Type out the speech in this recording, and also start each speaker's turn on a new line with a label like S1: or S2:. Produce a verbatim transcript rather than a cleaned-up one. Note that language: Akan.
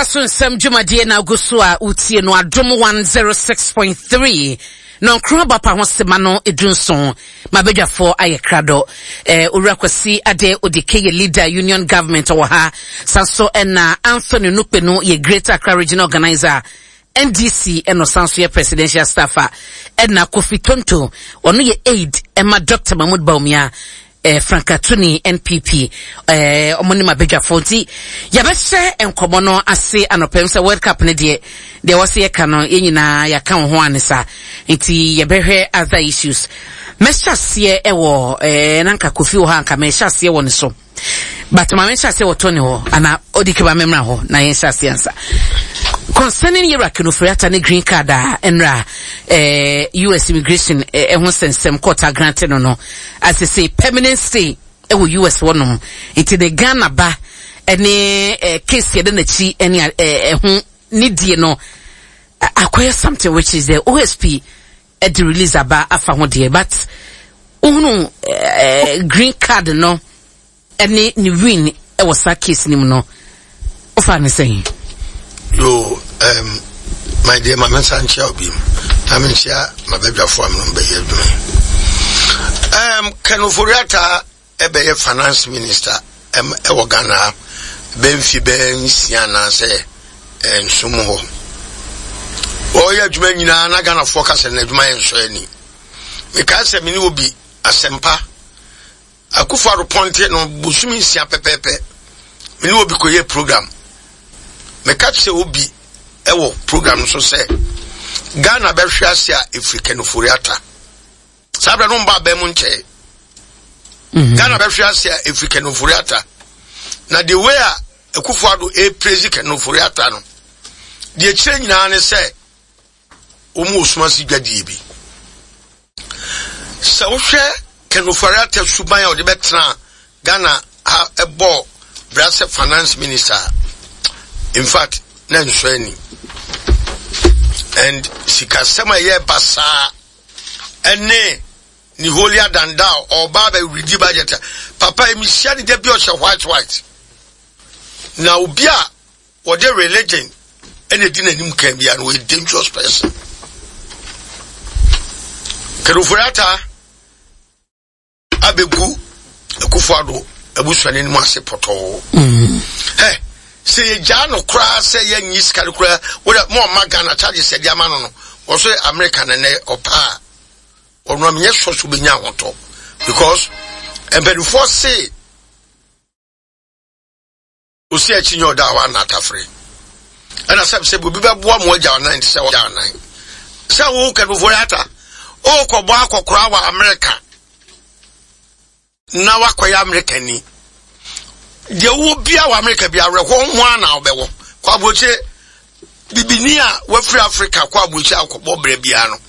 S1: Edwa so nsɛm dwumadie na agu so a wotie no, Adom one oh six point three na nkron abapa ho sema no edu nson. Mabadwafoɔ ayɛ krado. eh, Owura Kwasi Ade Odike yɛ leader, Union Government, wɔ ha. San so ɛna Anthony Nukpenu yɛ Greater Accra Regional Organizer, N D C, ɛna ɔsan so yɛ presidential staffer. Ɛna Kofi Tonto, ɔno yɛ aide ɛma Doctor Mahmood Bawumia, eh, Frankatuni N P P. eh, ɔmo ne mabadwafoɔ nti yɛbɛhyɛ nkɔmmɔ no ase anɔpɛm sɛ World Cup no deɛ, deɛ wɔsɛ yɛka no, yɛn nyinaa yɛaka wo ho ane sa, nti yɛbɛhwɛ other issues. Mɛhyɛ aseɛ ɛwɔ eh, na nka Kofi wɔ ha, nka mɛhyɛ aseɛ wɔ ne so, but ma menhyɛ aseɛ wɔ Tony hɔ ana ɔdi keba memmra hɔ na yɛnhyɛ aseɛ ansa concerning yɛwura Ken Ofori-Atta ne green card a ɛnra eh, U S immigration ɛho eh, nsɛnsɛm court agrant no no asese permanent stay ɛwɔ U S hɔnom. Nti ne Ghana ba ɛne eh, case yɛde n'akyi ɛne ɛho ne die no akɔyɛ something which is the O S P ɛde release aba afa ho deɛ, but wohunu eh, green card no ɛne ne win ɛwɔ saa case no mu no, wofa ne sɛn?
S2: Yo, um, my dear, ma mensa nkyia obi mu na menkyia mabadwafoɔ a menom bɛyɛ adwuma yi. um, Ken Ofori-Atta ɛbɛyɛ finance minister ɛwɔ Ghana ha bɛmfi bɛɛ nsia anaasɛ nsom hɔ. Ɔyɛ adwuma nyinaa na Ghanafoɔ ka sɛ n'adwuma yɛ nsɔ ani. Mekae sɛ mene obi asɛmpa Akufo-Addo pɔnte no bosome nsia pɛpɛɛpɛ, mene obi kɔyɛ program. Meka kyerɛ obi ɛwɔ program no so sɛ Ghana bɛhwɛ ase a ɛfiri Ken Ofori-Atta. Saa berɛ no mba abɛn mu nkyɛe. Ghana bɛhwɛ ase a ɛfiri Ken Ofori-Atta, na the way a Akufo-Addo ɛpraise Ken Ofori-Atta no deɛ, kyerɛ nyinaa ne sɛ wɔn wɔ suma se dwadie bi. Sɛ wohwɛ Ken Ofori-Atta suban a ɔde bɛtena Ghana ha ɛbɔ bra sɛ finance minister, in fact na nsɔ ani, and sikasɛm a ɛyɛ basaa ɛne ne holier than thou. Ɔba bɛ budget papa yi, mehyia ne da bi, ɔhyɛ white white, na obi a wɔde religion ɛna di n'anim kan bia no, wɔyɛ dangerous person. Ken Ofori-Atta abɛgu Akufo-Addo abusua n'anim ase pɔtɔɔ. Ɛ sɛ yɛgyaa no koraa sɛ yɛnyi sika no koraa, wode mo ɔma Ghana charges yɛde ama no no wɔso America nɛnɛ ɔpaa a ɔno a menyɛ sɔ so bɛnya ahotɔ, because mpanimfoɔ se osi akyi nyɛ ɔda a wana atafere. Ɛna sɛ sɛ obi bɛboa mo agya ɔnan te sɛ ɔgya ɔnan sɛ wo Ken Ofori-Atta wokɔbɔ akɔkora wɔ America na wakɔyɛ America ni deɛ, wowɔ bia wɔ America bi awerɛhoɔ ho a na wobɛwɔ kɔ aburokyire. Bibini a wafiri Africa kɔ aburokyire akɔbɔ berɛ biara no,